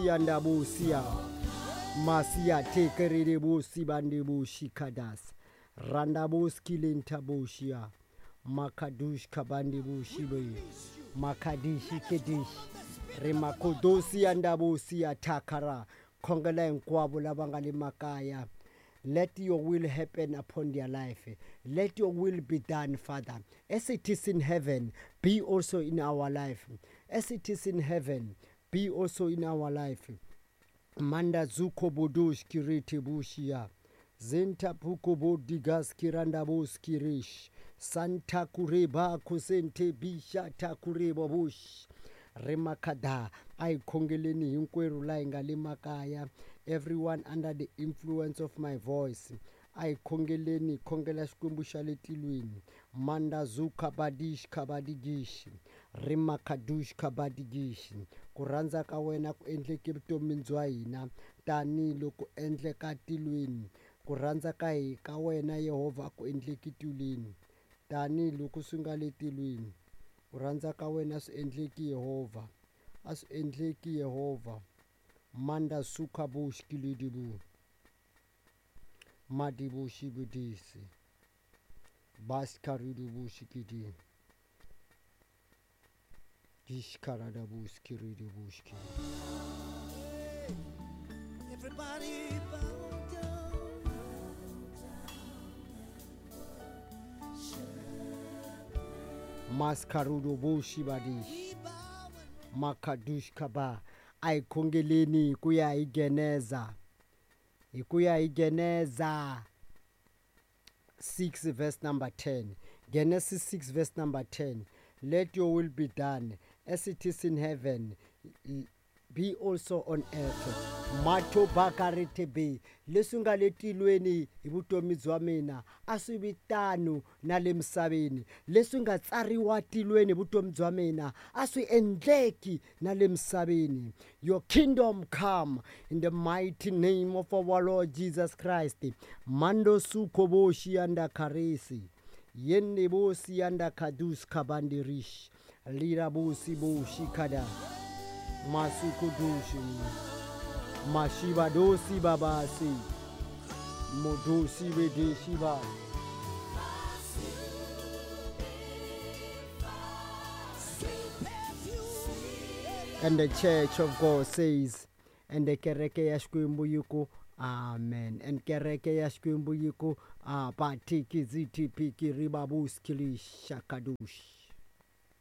Yandabusia Masia tekerere bandebushi kadas Randabuski lentabushia Makadush kabandebushi be Makadishi kedish Remakodosi andabusia takara khongela hinkwavo lava nga le makaya. Let your will happen upon their life. Let your will be done, Father. As it is in heaven, be also in our life. As it is in heaven, be also in our life. Manda zuko bodosh kirete bushia. Zenta puko bodigas kiranda boskirish. Santa kureba kusente bisha takureba bush. Remakada a hi khongeleni hinkwerhu laha hi nga le makaya. Everyone under the influence of my voice, a hi khongeleni hi khongela Xikwembu xa le tilweni. Mandazuka badish kabadigish rimakadush kabadigish. Ku rhandza ka wena ku endleke vutomini bya hina tanihiloko endleka tilweni. Ku rhandza ka hi ka wena Yehovha a ku endleki tilweni tanihiloko swi nga le tilweni. Ku rhandza ka wena swi endleki Yehovha, a swi endleki Yehovha. Manda suka bush kilidibu madibu shibudisi baskaridu shikidi dishkarada buskiridu bushki. Everybody bow down. Maskarudo bushibadish We bow and makadush kaba. A hi khongeleni hi ku ya hi Geneza, hi ku ya hi Geneza 6 verse number 10. Genesis 6 verse number 10. Let your will be done as it is in heaven, be also on earth. Matho bakarete leswi nga le tilweni hi vutomi bya mina a swi vi tano na le misaveni. Leswi nga tsariwa tilweni hi vutomi bya mina a swi endleki na le misaveni. Your kingdom come in the mighty name of our Lord Jesus Christ. Mando suko boshi anda karesi yenne bosi anda kadus kabandirish lira bosi boshi kada masukudushi mashiba dosi babasi modosi bedeshiba. And the church of God says, and the kereke ya Xikwembu yi ku amen. And kereke ya Xikwembu yi ku abatikizitipiki ribabuskilishakadush.